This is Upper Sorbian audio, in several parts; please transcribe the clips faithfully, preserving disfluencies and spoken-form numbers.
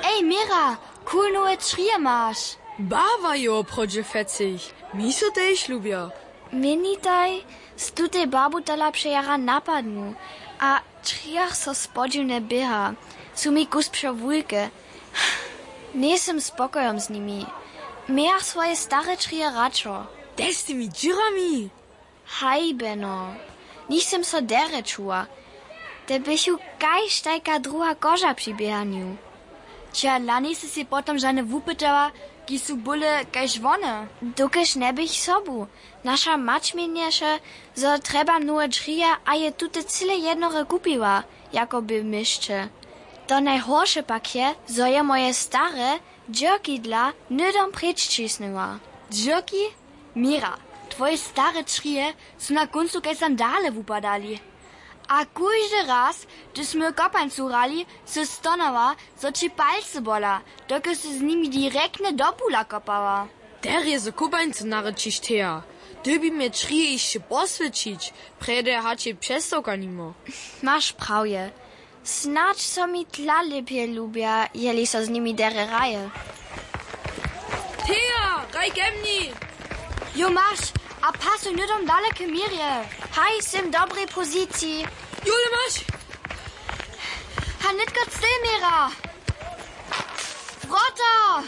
Ej, Mira, cool nowe črije maš. Barwa je woprawdźe fecich. Mi so tež lubja. Měnitaj, z tutej barbu tola přejara napadnu. A črijach so spodźiwne běha. Su mi kus přewulke. Njejsym spokojom z nimi. Mějach swoje stare črije radšo. Tež z tymi dźěrami. Hajbeno, nichtym so derje čuła. Te běchu kaž tajka druha koža při běhanju. Čehodla njejsy sej potom žane wupytała, kiž su bóle kaž wone? Dokelž njeběch sobu. Naša mać měnješe, zo trjebam nowe dźrije, a je tute cyle jednore kupiła, jako bě w měsće. To najhorše pak je, zo je moje stare dźěrkidla hnydom preč ćisnyła. Dźěrki? Mira, twoje stare črije su na kóncu kaž sandale wupadali. A kóždy raz, hdyž smy w kopańcu hrali, sy stonała, zo ći palcy bola, dokelž sy z nimi direktnje do bula kopała. Derje so kopańcu narečić, Thea. Dyrbi mje črije hišće poswjećić, prjedy hač je přestawka nimo. Maš prawje. Snadź so mi tla lěpje lubja, jeli so z nimi derje hraje. Thea, hraj ke mni! Jo, maš, a pasuj hnydom dale k Mirje. Haj, sym w dobrej poziciji. Jule, maš! Ha, nětko cel, Mira! Wrota!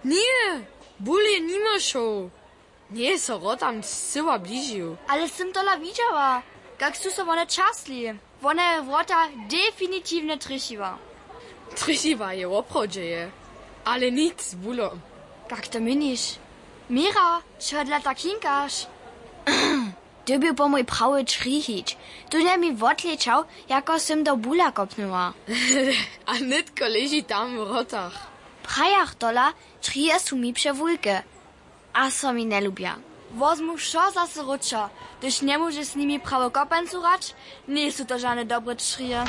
Ně, bul je nimo šoł. Njeje so wrotam scyła bližił. Ale sym tola widźała, kak su so wone třasli. Wona je wrota definitiwnje trjechiła. Trjechiła je woprawdźe je, ale nic z bulom. Kak to měniš? Mira, čehodla tak hinkaš? Ty bě po mój prawy črij hić. Tu nje mi wotlečał, jako sym do bula kopnyła. A nětko leži tam w wrotach. Prajach tola, črije su mi přewulke. A so mi njelubja. Wozmu wšo zaso wróćo, hdyž njemóžeš z nimi prawo kopańcu hrać, njejsu to žane dobre črije.